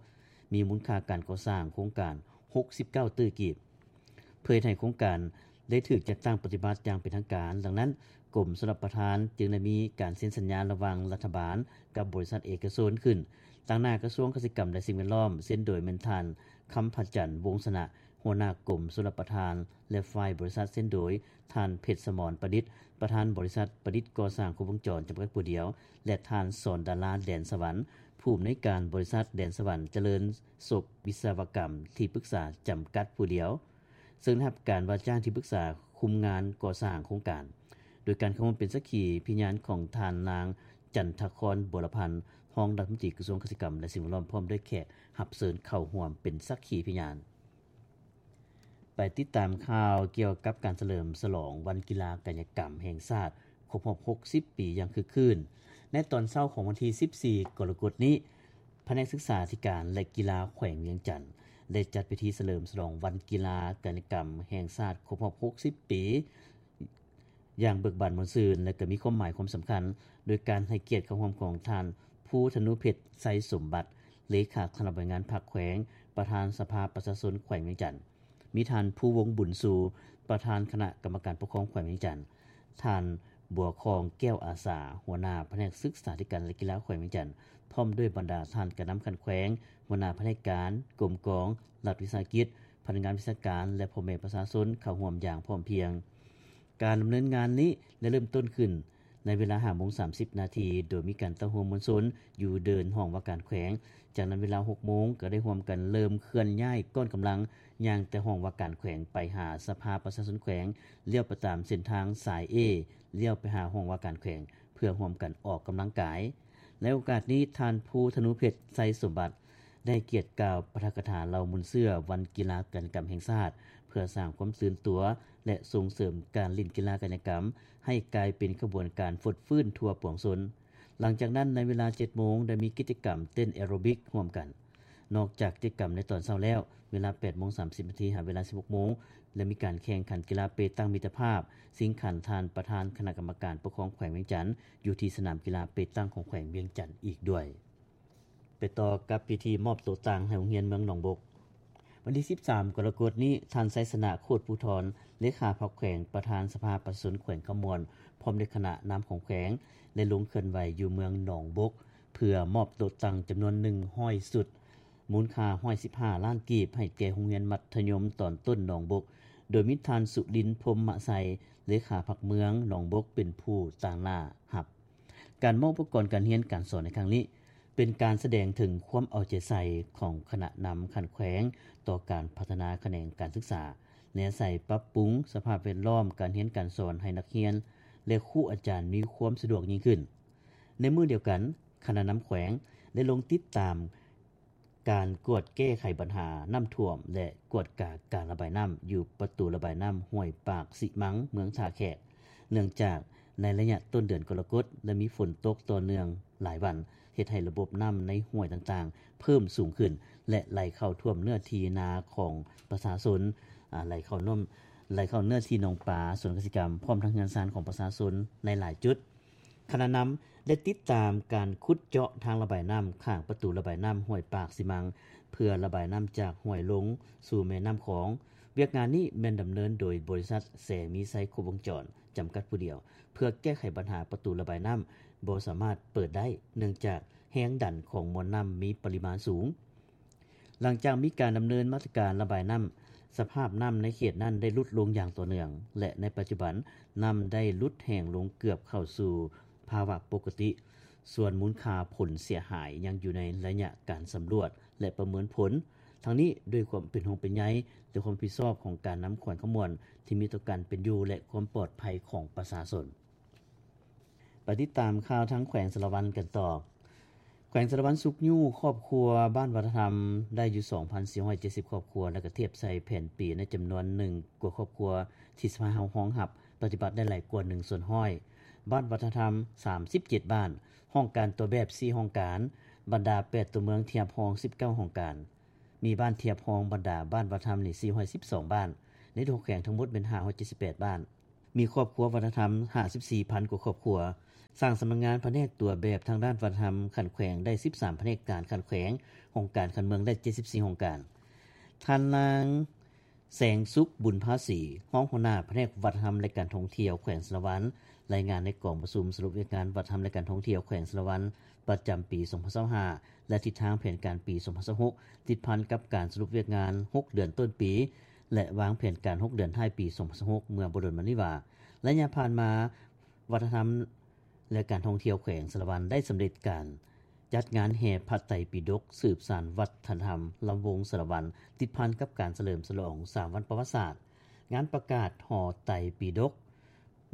ມີມູນຄ່າການກໍ່ສ້າງໂຄງການຫົກສິບເກົ້າຕື້ກີບ ເພື່ອເຮັດໃຫ້ໂຄງການໄດ້ຖືກຈັດຕັ້ງປະຕິບັດຢ່າງເປັນທາງການ. ດັ່ງນັ້ນ, ກົມຊົນລະປະທານຈຶ່ງໄດ້ມີການເຊັນສັນຍາລະຫວ່າງລັດຖະບານກັບບໍລິສັດເອກະຊົນຂຶ້ນ, ຕາງໜ້າກະຊວງກະສິກຳ ແລະ ສິ່ງແວດລ້ອມ ເຊັນໂດຍແມ່ນທ່ານ ຄຳພະຈັນ ວົງຊະນະ ຫົວໜ້າກົມຊົນລະປະທານ ແລະ ຝ່າຍບໍລິສັດ ເຊັນໂດຍທ່ານ ເພັດສະໝອນ ປະດິດ ປະທານບໍລິສັດປະດິດກໍ່ສ້າງຄົບວົງຈອນ ຈຳກັດຜູ້ດຽວ ແລະ ທ່ານ ສອນດາລາ ແດນສະຫວັນ ຜູ້ອຳນວຍການບໍລິສັດແດນສະຫວັນຈະເລີນສົບວິສະວະກຳ ທີ່ປຶກສາຈຳກັດຜູ້ດຽວ ເຊິ່ງໄດ້ຮັບການວ່າຈ້າງທີ່ປຶກສາຄຸມງານກໍ່ສ້າງໂຄງການ ໂດຍການເຂົ້າຮ່ວມເປັນສັກຂີພິຍານຂອງທ່ານນາງ ຈັນທະຄອນ ບົວລະພັນ ຮອງລັດຖະມົນຕີກະຊວງກະສິກຳ ແລະ ສິ່ງແວດລ້ອມ ພ້ອມດ້ວຍແຂກຮັບເຊີນເຂົ້າຮ່ວມເປັນສັກຂີພິຍານ. ໄປຕິດຕາມຂ່າວກ່ຽວກັບການສະເຫຼີມສະຫຼອງວັນກິລາກາຍະກຳແຫ່ງຊາດຄົບຮອບຫົກສິບປີຢ່າງຄຶກຄື້ນ. ໃນຕອນເຊົ້າຂອງວັນທີສິບສີ່ ກໍລະກົດນີ້, ພະແນກສຶກສາທິການ ແລະ ກິລາແຂວງວຽງຈັນ ໄດ້ຈັດພິທີສະເຫຼີມສະຫຼອງວັນກິລາກາຍະກຳແຫ່ງຊາດຄົບຮອບຫົກສິບປີ ຢ່າງເບີກບານມ່ວນຊື່ນ ແລະ ກໍມີຄວາມໝາຍຄວາມສຳຄັນ ໂດຍການໃຫ້ກຽດເຂົ້າຮ່ວມຂອງທ່ານ ພູທະນູເພັດ ໄຊສົມບັດ ເລຂາຄະນະບໍລິຫານງານພັກແຂວງ, ປະທານສະພາປະຊາຊົນແຂວງວຽງຈັນ, ມີທ່ານ ພູວົງ ບຸນຊູ ປະທານຄະນະກຳມະການປົກຄອງແຂວງວຽງຈັນ, ທ່ານ ບົວຄອງ ແກ້ວອາສາ ຫົວໜ້າພະແນກສຶກສາທິການ ແລະ ກິລາແຂວງວຽງຈັນ ພ້ອມດ້ວຍບັນດາທ່ານການນຳຂັ້ນແຂວງ, ຫົວໜ້າພະແນກການ, ກົມກອງ, ລັດວິສາຫະກິດ, ພະນັກງານວິຊາການ ແລະ ພໍ່ແມ່ປະຊາຊົນເຂົ້າຮ່ວມຢ່າງພ້ອມພຽງ. ການດຳເນີນງານນີ້ໄດ້ເລີ່ມຕົ້ນຂຶ້ນໃນເວລາຫ້າໂມງສາມສິບນາທີ ໂດຍມີການເຕົ້າໂຮມມວນຊົນຢູ່ເດີ່ນຫ້ອງວ່າການແຂວງ. ຈາກນັ້ນເວລາຫົກໂມງກໍໄດ້ຮ່ວມກັນເລີ່ມເຄື່ອນຍ້າຍກ້ອນກຳລັງ ຍ່າງແຕ່ຫ້ອງວ່າການແຂວງໄປຫາສະພາປະຊາຊົນແຂວງ, ລ້ຽວໄປຕາມເສັ້ນທາງສາຍ A, ລ້ຽວໄປຫາຫ້ອງວ່າການແຂວງ ເພື່ອຮ່ວມກັນອອກກຳລັງກາຍ. ໃນໂອກາດນີ້, ທ່ານ ພູທະນູເພັດ ໄຊສົມບັດ ໄດ້ໃຫ້ກຽດກ່າວປາຖະກະຖາເລົ່າມູນເຊື້ອວັນກິລາກາຍະກຳແຫ່ງຊາດ ເພື່ອສ້າງຄວາມຕື່ນຕົວ ແລະ ສົ່ງເສີມການຫຼິ້ນກິລາກາຍະກຳໃຫ້ກາຍເປັນຂະບວນການຟົດຟື້ນທົ່ວປວງຊົນ. ຫຼັງຈາກນັ້ນ, ໃນເວລາເຈັດໂມງ ໄດ້ມີກິດຈະກຳເຕັ້ນແອໂຣບິກຮ່ວມກັນ. ນອກຈາກກິດຈະກຳໃນຕອນເຊົ້າແລ້ວ, ເວລາແປດໂມງສາມສິບນາທີ ຫາເວລາສິບຫົກໂມງ ໄດ້ມີການແຂ່ງຂັນກິລາເປຕັງມິດຕະພາບ ຊິງຂັນທ່ານປະທານຄະນະກຳມະການປົກຄອງແຂວງວຽງຈັນ ຢູ່ທີ່ສະໜາມກິລາເປຕັງຂອງແຂວງວຽງຈັນອີກດ້ວຍ. ໄປຕໍ່ກັບພິທີມອບໂຕະຕັ່ງໃຫ້ໂຮງຮຽນເມືອງໜອງບົກ. ວັນທີສິບສາມ ກໍລະກົດນີ້, ທ່ານ ໄຊຊະນະ ໂຄດພູທອນ ເລຂາພັກແຂວງ, ປະທານສະພາປະຊາຊົນແຂວງຄຳມ່ວນ ພ້ອມດ້ວຍຄະນະນຳຂອງແຂວງ ໄດ້ລົງເຄື່ອນໄຫວຢູ່ເມືອງໜອງບົກ ເພື່ອມອບໂຕະຕັ່ງຈຳນວນໜຶ່ງຮ້ອຍຊຸດ ມູນຄ່າຮ້ອຍສິບຫ້າລ້ານກີບ ໃຫ້ແກ່ໂຮງຮຽນມັດທະຍົມຕອນຕົ້ນໜອງບົກ, ໂດຍມີທ່ານ ສຸລິນ ພົມມະໄຊ ເລຂາພັກເມືອງໜອງບົກ ເປັນຜູ້ຕາງໜ້າຮັບ. ການມອບອຸປະກອນການຮຽນການສອນໃນຄັ້ງນີ້ ເປັນການສະແດງເຖິງຄວາມເອົາໃຈໃສ່ຂອງຄະນະນຳຂັ້ນແຂວງຕໍ່ການພັດທະນາຂະແໜງການສຶກສາ ແນໃສ່ປັບປຸງສະພາບແວດລ້ອມການຮຽນການສອນໃຫ້ນັກຮຽນ ແລະ ຄູອາຈານມີຄວາມສະດວກຍິ່ງຂຶ້ນ. ໃນມື້ດຽວກັນ, ຄະນະນຳແຂວງໄດ້ລົງຕິດຕາມ ການກວດແກ້ໄຂບັນຫານ້ຳຖ້ວມ ແລະ ກວດກາການລະບາຍນ້ຳຢູ່ປະຕູລະບາຍນ້ຳຫ້ວຍປາກຊິມັງ ເມືອງທ່າແຂກ, ເນື່ອງຈາກໃນໄລຍະຕົ້ນເດືອນກໍລະກົດ ໄດ້ມີຝົນຕົກຕໍ່ເນື່ອງຫຼາຍວັນ, ເຮັດໃຫ້ລະບົບນ້ຳໃນຫ້ວຍຕ່າງໆເພີ່ມສູງຂຶ້ນ ແລະ ໄຫຼເຂົ້າຖ້ວມເນື້ອທີ່ນາຂອງປະຊາຊົນ ອ່າ ໄຫຼເຂົ້ານ້ຳ ໄຫຼເຂົ້າເນື້ອທີ່ໜອງປາ, ສວນກະສິກຳ ພ້ອມທັງເຮືອນຊານຂອງປະຊາຊົນໃນຫຼາຍຈຸດ. ຄະນະນຳໄດ້ຕິດຕາມການຂຸດເຈາະທາງລະບາຍນ້ຳຂ້າງປະຕູລະບາຍນ້ຳຫ້ວຍປາກຊີມັງ ເພື່ອລະບາຍນ້ຳຈາກຫ້ວຍລົງສູ່ແມ່ນ້ຳຂອງ. ວຽກງານນີ້ແມ່ນດຳເນີນໂດຍບໍລິສັດແສງມີໄຊຄົບວົງຈອນ ຈຳກັດຜູ້ດຽວ ເພື່ອແກ້ໄຂບັນຫາປະຕູລະບາຍນ້ຳບໍ່ສາມາດເປີດໄດ້ ເນື່ອງຈາກແຮງດັນຂອງມວນນ້ຳມີປະລິມານສູງ. ຫຼັງຈາກມີການດຳເນີນມາດຕະການລະບາຍນ້ຳ, ສະພາບນ້ຳໃນເຂດນັ້ນໄດ້ຫຼຸດລົງຢ່າງຕໍ່ເນື່ອງ ແລະ ໃນປັດຈຸບັນນ້ຳໄດ້ຫຼຸດແຫ້ງລົງເກືອບເຂົ້າສູ່ພາວະປົກກະຕິ, ສ່ວນມູນຄ່າຜົນເສຍຫາຍຍັງຢູ່ໃນໄລຍະການສຳຫຼວດ ແລະ ປະເມີນຜົນ. ທັງນີ້ດ້ວຍຄວາມເປັນຫ່ວງເປັນໃຍ ແລະ ຄວາມຮັບຜິດຊອບຂອງການນຳແຂວງຄຳມ່ວນ ທີ່ມີຕໍ່ການເປັນຢູ່ ແລະ ຄວາມປອດໄພຂອງປະຊາຊົນ. ໄປຕິດຕາມຂ່າວທາງແຂວງສາລະວັນກັນຕໍ່. ແຂວງສາລະວັນຊຸກຍູ້ຄອບຄົວບ້ານວັດທະນຳໄດ້ຢູ່ສອງພັນສີ່ຮ້ອຍເຈັດສິບຄອບຄົວ ແລະ ກະທຽບໃສ່ແຜນປີໃນຈຳນວນໜຶ່ງກວ່າຄອບຄົວທີ່ສະພາຮອງຮັບປະຕິບັດໄດ້ຫຼາຍກວ່າໜຶ່ງສ່ວນຮ້ອຍ. ບ້ານວັດທະນຳສາມສິບເຈັດບ້ານ, ຫ້ອງການຕົວແບບສີ່ຫ້ອງການ, ບັນດາແປດຕົວເມືອງທຽບຮອງສິບເກົ້າຫ້ອງການ. ມີບ້ານທຽບຮອງບັນດາບ້ານວັດທະນຳນີ້ສີ່ຮ້ອຍສິບສອງບ້ານ, ໃນທົ່ວແຂວງທັງໝົດແມ່ນຫ້າຮ້ອຍເຈັດສິບແປດບ້ານ, ມີຄອບຄົວວັດທະນຳຫ້າສິບສີ່ພັນກວ່າຄອບຄົວ, ສ້າງສຳນັກງານພະແນກຕົວແບບທາງດ້ານວັດທະນຳຂັ້ນແຂວງໄດ້ສິບສາມພະແນກການຂັ້ນແຂວງ, ຫ້ອງການຂັ້ນເມືອງໄດ້ເຈັດສິບສີ່ຫ້ອງການ. ທ່ານນາງ ແສງສຸກ ບຸນພາສີ ຮອງຫົວໜ້າພະແນກວັດທະນຳ ແລະ ການທ່ອງທ່ຽວແຂວງສາລະວັນ ລາຍງານໃນກອງປະຊຸມສະຫຼຸບວຽກງານວັດທະນຳ ແລະ ການທ່ອງທ່ຽວແຂວງສາລະວັນ ປະຈຳປີສອງພັນຊາວຫ້າ ແລະ ທິດທາງແຜນການປີສອງພັນຊາວຫົກ ຕິດພັນກັບການສະຫຼຸບວຽກງານຫົກເດືອນຕົ້ນປີ ແລະ ວາງແຜນການຫົກເດືອນທ້າຍປີສອງພັນຊາວຫົກ ເມື່ອບໍ່ດົນມານີ້ວ່າ ໄລຍະຜ່ານມາ ວັດທະນຳ ແລະ ການທ່ອງທ່ຽວແຂວງສາລະວັນໄດ້ສຳເລັດການຈັດງານແຫ່ພະໄຕປິດົກ ສືບສານວັດທະນະທຳລຳວົງສາລະວັນ ຕິດພັນກັບການສະເຫຼີມສະຫຼອງສາມວັນປະຫວັດສາດ. ງານປະກາດຫໍໄຕປິດົກ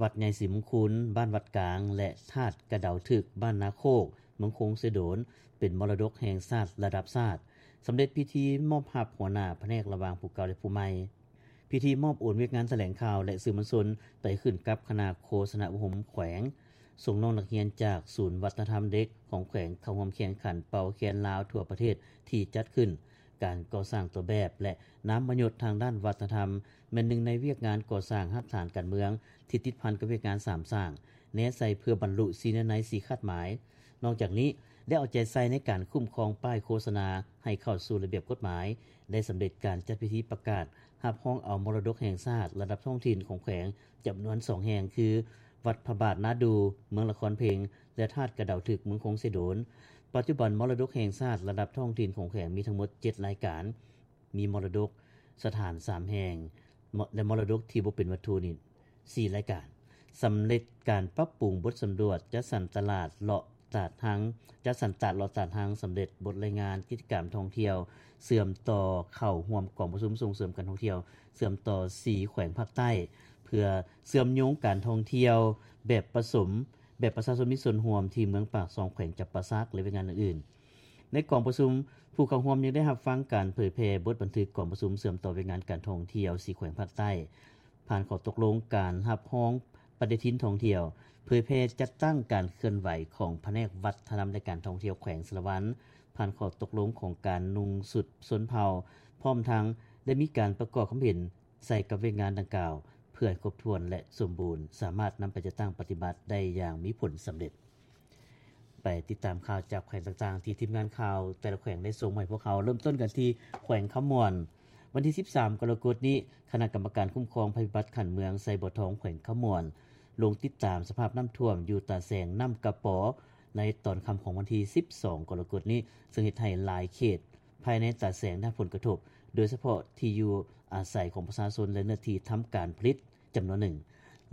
ວັດໃຫຍ່ສີມຸງຄຸນ ບ້ານວັດກາງ ແລະ ທາດກະເດົາຖືກ ບ້ານນາໂຄກ ເມືອງຄົງເຊໂດນ ເປັນມໍລະດົກແຫ່ງຊາດລະດັບຊາດ, ສຳເລັດພິທີມອບຮັບຫົວໜ້າພະແນກລະຫວ່າງຜູ້ເກົ່າ ແລະ ຜູ້ໃໝ່. ພິທີມອບໂອນວຽກງານຖະແຫຼງຂ່າວ ແລະ ສື່ມວນຊົນໄປຂຶ້ນກັບຄະນະໂຄສະນາອົບຮົມແຂວງ, ສົ່ງນ້ອງນັກຮຽນຈາກສູນວັດທະນະທຳເດັກຂອງແຂວງເຂົ້າຮ່ວມແຂ່ງຂັນເປົ່າແຄນລາວທົ່ວປະເທດທີ່ຈັດຂຶ້ນ. ການກໍ່ສ້າງຕົວແບບ ແລະ ນາມມະຍົດທາງດ້ານວັດທະນະທຳ ແມ່ນໜຶ່ງໃນວຽກງານກໍ່ສ້າງຮາກຖານການເມືອງທີ່ຕິດພັນກັບວຽກງານສາມສ້າງ ແນໃສ່ເພື່ອບັນລຸສີ່ເນື້ອໃນ ສີ່ຄາດໝາຍ. ນອກຈາກນີ້ ໄດ້ເອົາໃຈໃສ່ໃນການຄຸ້ມຄອງປ້າຍໂຄສະນາໃຫ້ເຂົ້າສູ່ລະບຽບກົດໝາຍ, ໄດ້ສຳເລັດການຈັດພິທີປະກາດຮັບຮອງເອົາມໍລະດົກແຫ່ງຊາດລະດັບທ້ອງຖິ່ນຂອງແຂວງຈຳນວນສອງແຫ່ງ ຄື ວັດພະບາດນາດູ ເມືອງລະຄອນເພັງ ແລະ ທາດກະເດົາຖືກ ເມືອງຄົງເຊໂດນ. ປັດຈຸບັນ ມໍລະດົກແຫ່ງຊາດລະດັບທ້ອງຖິ່ນຂອງແຂວງມີທັງໝົດເຈັດລາຍການ, ມີມໍລະດົກສະຖານສາມແຫ່ງ ແລະ ມໍລະດົກທີ່ບໍ່ເປັນວັດຖຸນີ້ສີ່ລາຍການ. ສຳເລັດການປັບປຸງບົດສຳຫຼວດ ຈັດສັນຕະຫຼາດເລາະຕາດຮັງ, ຈັດສັນຕາດເລາະຕາດຮັງ, ສຳເລັດບົດລາຍງານກິດຈະກຳທ່ອງທ່ຽວ ເຊື່ອມຕໍ່ເຂົ້າຮ່ວມກອງປະຊຸມສົ່ງເສີມການທ່ອງທ່ຽວ ເຊື່ອມຕໍ່ສີ່ແຂວງພາກໃຕ້ ເພື່ອເຊື່ອມໂຍງການທ່ອງທ່ຽວແບບປະສົມ ແບບປະຊາຊົນມີສ່ວນຮ່ວມທີ່ເມືອງປາກຊ່ອງ ແຂວງຈຳປາສັກ ແລະ ວຽກງານອື່ນໆ. ໃນກອງປະຊຸມ, ຜູ້ເຂົ້າຮ່ວມຍັງໄດ້ຮັບຟັງການເຜີຍແຜ່ບົດບັນທຶກກອງປະຊຸມເຊື່ອມຕໍ່ວຽກງານການທ່ອງທ່ຽວສີ່ແຂວງພາກໃຕ້, ຜ່ານຂໍ້ຕົກລົງການຮັບຮອງປະຕິທິນທ່ອງທ່ຽວ, ເຜີຍແຜ່ຈັດຕັ້ງການເຄື່ອນໄຫວຂອງພະແນກວັດທະນະທຳ ແລະ ການທ່ອງທ່ຽວແຂວງສາລະວັນ, ຜ່ານຂໍ້ຕົກລົງຂອງການນຸ່ງຊຸດຊົນເຜົ່າ, ພ້ອມທັງໄດ້ມີການປະກອບຄຳເຫັນ ໃສ່ກັບວຽກງານດັ່ງກ່າວ ເພື່ອໃຫ້ຄົບຖ້ວນ ແລະ ສົມບູນ, ສາມາດນຳໄປຈັດຕັ້ງປະຕິບັດໄດ້ຢ່າງມີຜົນສຳເລັດ. ໄປຕິດຕາມຂ່າວຈາກແຂວງຕ່າງໆ ທີ່ທີມງານຂ່າວແຕ່ລະແຂວງໄດ້ສົ່ງມາໃຫ້ພວກເຮົາ. ເລີ່ມຕົ້ນກັນທີ່ແຂວງຄຳມ່ວນ. ວັນທີສິບສາມ ກໍລະກົດນີ້, ຄະນະກຳມະການຄຸ້ມຄອງໄພພິບັດຂັ້ນເມືອງໄຊບົວທອງ ແຂວງຄຳມ່ວນ ລົງຕິດຕາມສະພາບນ້ຳຖ້ວມຢູ່ຕາແສງນ້ຳກະປໍ ໃນຕອນຄ່ຳຂອງວັນທີສິບສອງ ກໍລະກົດນີ້, ເຊິ່ງເຮັດໃຫ້ຫຼາຍເຂດ ພາຍໃນຕາແສງໄດ້ຮັບຜົນກະທົບ, ໂດຍສະເພາະທີ່ຢູ່ອາໄສຂອງປະຊາຊົນ ແລະ ເນື້ອທີ່ທຳການຜະລິດຈຳນວນໜຶ່ງ.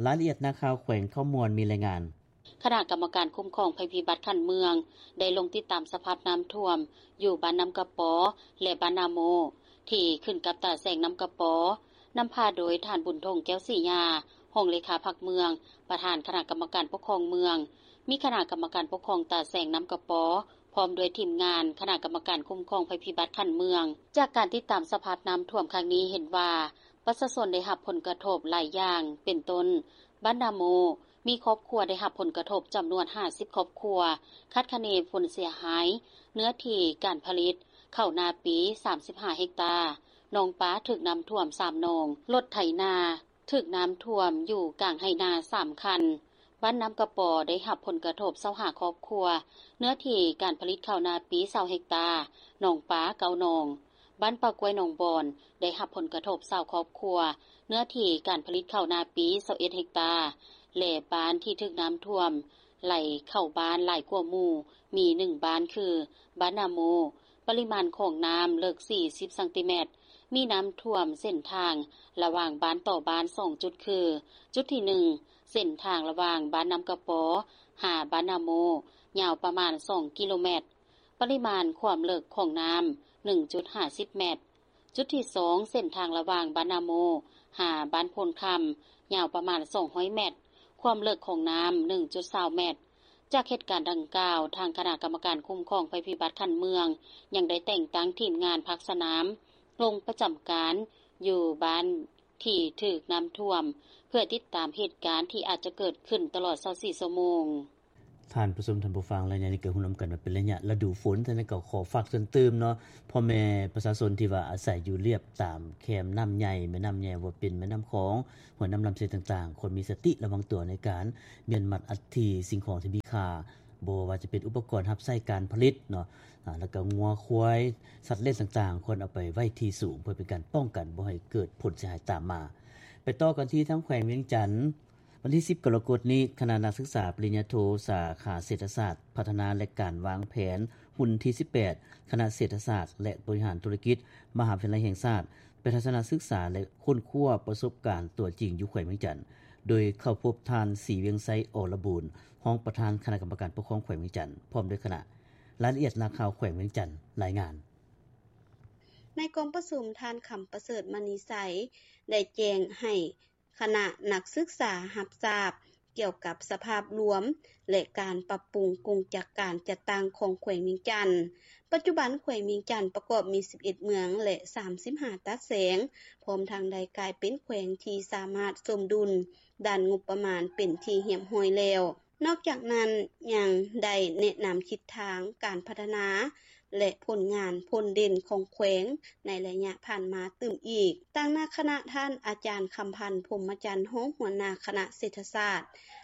ລາຍລະອຽດນັກຂ່າວແຂວງຄຳມ່ວນມີລາຍງານ. ຄະນະກຳມະການຄຸ້ມຄອງໄພພິບັດຂັ້ນເມືອງ ໄດ້ລົງຕິດຕາມສະພາບນ້ຳຖ້ວມຢູ່ບ້ານນ້ຳກະປໍ ແລະ ບ້ານນາໂມ ທີ່ຂຶ້ນກັບຕາແສງນ້ຳກະປໍ, ນຳພາໂດຍທ່ານ ບຸນທົງ ແກ້ວສີຍາ ຮອງເລຂາພັກເມືອງ, ປະທານຄະນະກຳມະການປົກຄອງເມືອງ, ມີຄະນະກຳມະການປົກຄອງຕາແສງນ້ຳກະປໍ ພ້ອມດ້ວຍທີມງານຄະນະກຳມະການຄຸ້ມຄອງໄພພິບັດຂັ້ນເມືອງ. ຈາກການຕິດຕາມສະພາບນ້ຳຖ້ວມຄັ້ງນີ້ເຫັນວ່າ ປະຊາຊົນໄດ້ຮັບຜົນກະທົບຫຼາຍຢ່າງ ເປັນຕົ້ນ ບ້ານນາໂມ ມີຄອບຄົວໄດ້ຮັບຜົນກະທົບຈຳນວນຫ້າສິບຄອບຄົວ, ຄາດຄະເນຜົນເສຍຫາຍເນື້ອທີ່ການຜະລິດເຂົ້ານາປີສາມສິບຫ້າເຮັກຕາ, ໜອງປາຖືກນ້ຳຖ້ວມສາມໜອງ, ລົດໄຖນາຖືກນ້ຳຖ້ວມຢູ່ກາງໄຮ່ນາສາມຄັນ. ບ້ານນ້ຳກະປໍໄດ້ຮັບຜົນກະທົບຊາວຫ້າຄອບຄົວ, ເນື້ອທີ່ການຜະລິດເຂົ້ານາປີຊາວເຮັກຕາ, ໜອງປາເກົ້າໜອງ. ບ້ານປ່າກ້ວຍໜອງບອນໄດ້ຮັບຜົນກະທົບຊາວຄອບຄົວ, ເນື້ອທີ່ການຜະລິດເຂົ້ານາປີຊາວເອັດເຮັກຕາ ແລະ ບ້ານທີ່ຖືກນ້ຳຖ້ວມໄຫຼເຂົ້າບ້ານຫຼາຍກວ່າໝູ່ ມີໜຶ່ງບ້ານຄື ບ້ານນາໂມ, ປະລິມານຂອງນ້ຳເລິກສີ່ສິບຊັງຕີແມັດ, ມີນ້ຳຖ້ວມເສັ້ນທາງລະຫວ່າງບ້ານຕໍ່ບ້ານສອງຈຸດຄື ຈຸດທີໜຶ່ງ ເສັ້ນທາງລະຫວ່າງບ້ານນ້ຳກະປໍຫາບ້ານນາໂມ ຍາວປະມານສອງກິໂລແມັດ, ປະລິມານຄວາມເລິກຂອງນ້ຳໜຶ່ງຈຸດຫ້າສິບແມັດ. ຈຸດທີສອງ ເສັ້ນທາງລະຫວ່າງບ້ານນາໂມຫາບ້ານໂພນຄຳ ຍາວປະມານສອງຮ້ອຍແມັດ, ຄວາມເລິກຂອງນ້ຳໜຶ່ງຈຸດຊາວແມັດ. ຈາກເຫດການດັ່ງກ່າວ, ທາງຄະນະກຳມະການຄຸ້ມຄອງໄພພິບັດຂັ້ນເມືອງ ຍັງໄດ້ແຕ່ງຕັ້ງທີມງານພາກສະໜາມລົງປະຈຳການຢູ່ບ້ານທີ່ຖືກນ້ຳຖ້ວມ ເພື່ອຕິດຕາມເຫດການທີ່ອາດຈະເກີດຂຶ້ນຕະຫຼອດຊາວສີ່ຊົ່ວໂມງ. ທ່ານຜູ້ຊົມ, ທ່ານຜູ້ຟັງ, ໄລຍະນີ້ກໍຮູ້ນຳກັນວ່າເປັນໄລຍະລະດູຝົນ, ສະນັ້ນກໍຂໍຝາກເຕືອນຕື່ມເນາະ ພໍ່ແມ່ປະຊາຊົນທີ່ວ່າອາໄສຢູ່ລຽບຕາມແຄມນ້ຳໃຫຍ່, ແມ່ນ້ຳໃຫຍ່ ບໍ່ວ່າເປັນແມ່ນ້ຳຂອງ, ຫ້ວຍນ້ຳລຳເຊຕ່າງໆ, ຄວນມີສະຕິລະວັງຕົວໃນການມ້ຽນມັດອັດຖິສິ່ງຂອງທີ່ມີຄ່າ, ບໍ່ວ່າຈະເປັນອຸປະກອນຮັບໃຊ້ການຜະລິດເນາະ, ອາ ແລ້ວກໍງົວຄວາຍ, ສັດລ້ຽງຕ່າງໆ, ຄວນເອົາໄປໄວ້ທີ່ສູງ ເພື່ອເປັນການປ້ອງກັນບໍ່ໃຫ້ເກີດຜົນເສຍຫາຍຕາມມາ. ໄປຕໍ່ກັນທີ່ທາງແຂວງວຽງຈັນ. ວັນທີສິບກໍລະກົດນີ້, ຄະນະນັກສຶກສາປະລິນຍາໂທ ສາຂາເສດຖະສາດພັດທະນາ ແລະ ການວາງແຜນ, ຮຸ່ນທີສິບແປດ ຄະນະເສດຖະສາດ ແລະ ບໍລິຫານທຸລະກິດ ມະຫາວິທະຍາໄລແຫ່ງຊາດ ໄປທັດສະນະສຶກສາ ແລະ ຄົ້ນຄວ້າປະສົບການຕົວຈິງຢູ່ແຂວງວຽງຈັນ, ໂດຍເຂົ້າພົບທ່ານ ສີວຽງໄຊ ອລະບູນ ຮອງປະທານຄະນະກຳມະການປົກຄອງແຂວງວຽງຈັນ ພ້ອມດ້ວຍຄະນະ. ລາຍລະອຽດນັກຂ່າວແຂວງວຽງຈັນລາຍງານ. ໃນກອງປະຊຸມ, ທ່ານ ຄຳປະເສີດ ມະນີໄຊ ໄດ້ແຈ້ງໃຫ້ ຄະນະນັກສຶກສາຮັບຊາບກ່ຽວກັບສະພາບລວມ ແລະ ການປັບປຸງກົງຈັກການຈັດຕັ້ງຂອງແຂວງວຽງຈັນ. ປັດຈຸບັນແຂວງວຽງຈັນປະກອບມີສິບເອັດເມືອງ ແລະ ສາມສິບຫ້າຕັດແສງ, ພ້ອມທັງໄດ້ກາຍເປັນແຂວງທີ່ສາມາດສົມດຸນດ້ານງົບປະມານເປັນທີ່ຮຽບຮ້ອຍແລ້ວ. ນອກຈາກນັ້ນຍັງໄດ້ແນະນຳທິດທາງການພັດທະນາ ແລະ ຜົນງານພົ້ນເດັ່ນຂອງແຂວງໃນໄລຍະຜ່ານມາຕື່ມອີກ. ຕາງໜ້າຄະນະ, ທ່ານ ອາຈານ ຄຳພັນ ພົມມະຈັນ ຮອງຫົວໜ້າຄະນະເສດຖະສາດ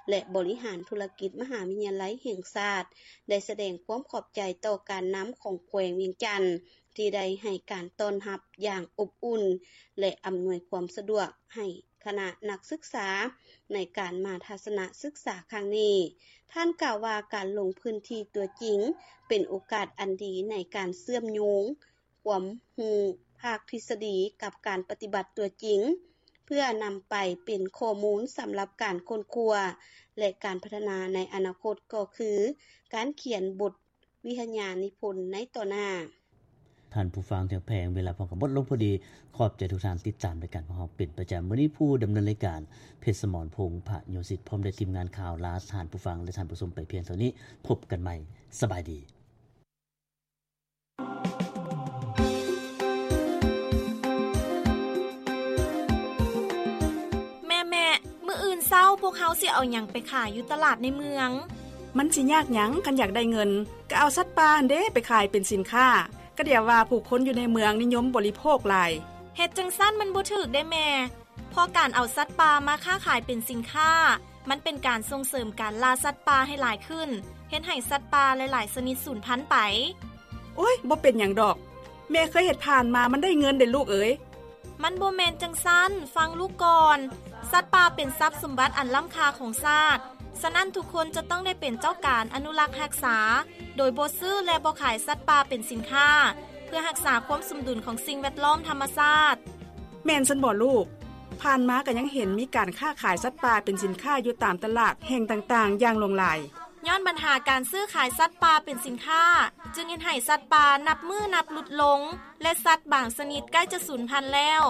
ແລະ ບໍລິຫານທຸລະກິດ ມະຫາວິທະຍາໄລແຫ່ງຊາດ ໄດ້ສະແດງຄວາມຂອບໃຈຕໍ່ການນຳຂອງແຂວງວຽງຈັນ ທີ່ໄດ້ໃຫ້ການຕ້ອນຮັບຢ່າງອົບອຸ່ນ ແລະ ອຳນວຍຄວາມສະດວກໃຫ້ ຄະນະນັກສຶກສາໃນການມາທັດສະນະສຶກສາຄັ້ງນີ້. ທ່ານກ່າວວ່າ ການລົງພື້ນທີ່ຕົວຈິງເປັນໂອກາດອັນດີໃນການເຊື່ອມໂຍງຄວາມຮູ້ພາກທິດສະດີກັບການປະຕິບັດຕົວຈິງ ເພື່ອນຳໄປເປັນຂໍ້ມູນສຳລັບການຄົ້ນຄວ້າ ແລະ ການພັດທະນາໃນອະນາຄົດ ກໍຄືການຂຽນບົດ ວິທະຍານິພົນໃນຕໍ່ໜ້າ. ທ່ານຜູ້ຟັງທີ່ຮັກແພງ, ເວລາພວມກັນໝົດລົງພໍດີ. ຂອບໃຈທຸກທ່ານຕິດຕາມລາຍການຂອງເຮົາເປັນປະຈຳ. ມື້ນີ້ຜູ້ດຳເນີນລາຍການ ເພັດສະໝອນ ພົງພະໂຍສິດ ພ້ອມດ້ວຍທີມງານຂ່າວ ລາທ່ານຜູ້ຟັງ ແລະ ທ່ານຜູ້ຊົມໄປພຽງເທົ່ານີ້. ພົບກັນໃໝ່. ສະບາຍດີ. ແມ່ໆ, ມື້ອື່ນເຊົ້າພວກເຮົາຊິເອົາຫຍັງໄປຂາຍຢູ່ຕະຫຼາດໃນເມືອງ? ມັນຊິຍາກຫຍັງ ຄັນຢາກໄດ້ເງິນ ກໍເອົາສັດປ່າຫັ້ນເດ້ໄປຂາຍເປັນສິນຄ້າ. ກະດຽວວ່າຜູ້ຄົນຢູ່ໃນເມືອງນິຍົມບໍລິໂພກຫຼາຍ. ເຮັດຈັ່ງຊັ້ນມັນບໍ່ຖືກເດ້ແມ່. ເພາະການເອົາສັດປ່າມາຄ້າຂາຍເປັນສິນຄ້າ ມັນເປັນການສົ່ງເສີມການລ່າສັດປ່າໃຫ້ຫຼາຍຂຶ້ນ, ເຮັດໃຫ້ສັດປ່າຫຼາຍໆຊະນິດສູນພັນໄປ. ໂອ້ຍ, ບໍ່ເປັນຫຍັງດອກ. ແມ່ເຄີຍເຮັດຜ່ານມາ, ມັນໄດ້ເງິນເດ້ລູກເອີຍ. ມັນບໍ່ແມ່ນຈັ່ງຊັ້ນ, ຟັງລູກກ່ອນ. ສັດປ່າເປັນຊັບສົມບັດອັນລ້ຳຄ່າຂອງຊາດ, ສະນັ້ນທຸກຄົນຈະຕ້ອງໄດ້ເປັນເຈົ້າການອະນຸລັກຮັກສາ, ໂດຍບໍ່ຊື້ ແລະ ບໍ່ຂາຍສັດປ່າເປັນສິນຄ້າ, ເພື່ອຮັກສາຄວາມສົມດຸນຂອງສິ່ງແວດລ້ອມທຳມະຊາດ. ແມ່ນຊັ້ນບໍລູກ? ຜ່ານມາກໍຍັງເຫັນມີການຄ້າຂາຍສັດປ່າເປັນສິນຄ້າຢູ່ຕາມຕະຫຼາດແຫ່ງຕ່າງໆຢ່າງຫຼວງຫຼາຍ. ຍ້ອນບັນຫາການຊື້ຂາຍສັດປ່າເປັນສິນຄ້າ ຈຶ່ງເຮັດໃຫ້ສັດປ່ານັບມື້ນັບຫຼຸດລົງ ແລະ ສັດບາງຊະນິດໃກ້ຈະສູນພັນແລ້ວ.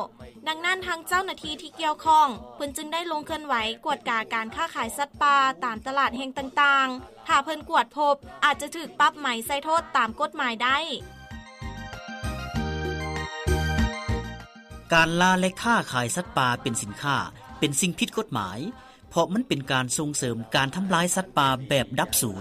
ດັ່ງນັ້ນ ທາງເຈົ້າໜ້າທີ່ທີ່ກ່ຽວຂ້ອງ ເພິ່ນຈຶ່ງໄດ້ລົງເຄື່ອນໄຫວກວດກາການຄ້າຂາຍສັດປ່າຕາມຕະຫຼາດແຫ່ງຕ່າງໆ. ຖ້າເພິ່ນກວດພົບ ອາດຈະຖືກປັບໃໝໃສ່ໂທດຕາມກົດໝາຍໄດ້. ການລ່າ ແລະ ຄ້າຂາຍສັດປ່າເປັນສິນຄ້າ ເປັນສິ່ງຜິດກົດໝາຍ, ເພາະມັນເປັນການສົ່ງເສີມການທຳລາຍສັດປ່າແບບດັບສູນ.